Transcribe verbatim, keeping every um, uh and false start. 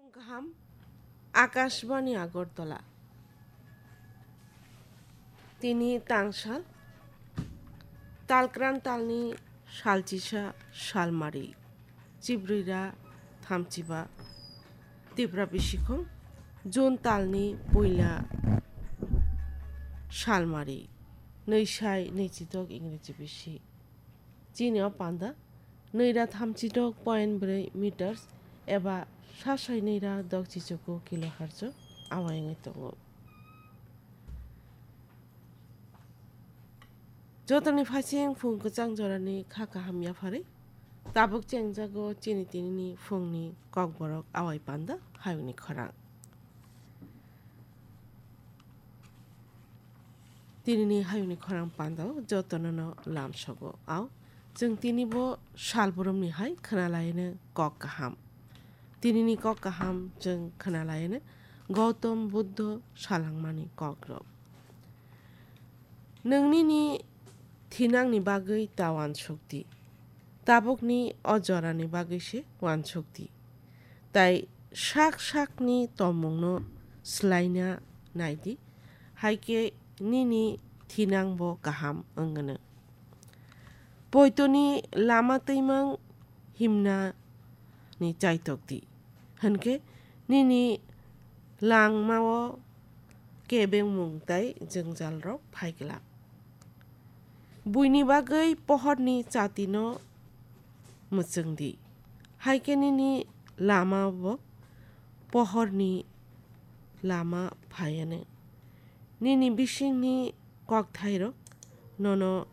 Kaham, Akashbani Agartala. Tini tangsal, talkran talni salchisa salmari, chibrira thamchiba, Tipra bisikhong, June talni puila salmari, nwisai nwichidok Ingreji bisi. Chini o panda nwira thamchidok point bwrwi meters eba sasai nwira dok chichuku kilohertz o awai wngwi tongo. Jotoni phaising phung kwchang jorani kha kaham yapharwi tabuk chengjago chini tinini phungni kokborok awai panda hayungni khorang. Tinini hayungni khorang pandao jotono no lamsogo. Ao, chwng tini bo salbrumni hai khwnalaino kok kaham. Tinini kok kaham chwng khwnalaino Gautam Buddho salangmani kokrok. Nwng nini thinangni bagwi ta uansukdi, tabukni o jorani bagwi se uansukdi. Tai sak sakni tongmungno swlaina naidi, hai khe nini thinang bo kaham wngno. Poitoni lama twimang himnani chaitokdi, hinkhe nini langmao kebengmung tai jwngjalrok phai glak. Buini bagwi pohorni chatino mwchwngdi, hai khe nini lama bo pohorni lama phaiano. Nini bisingni kokthairok nono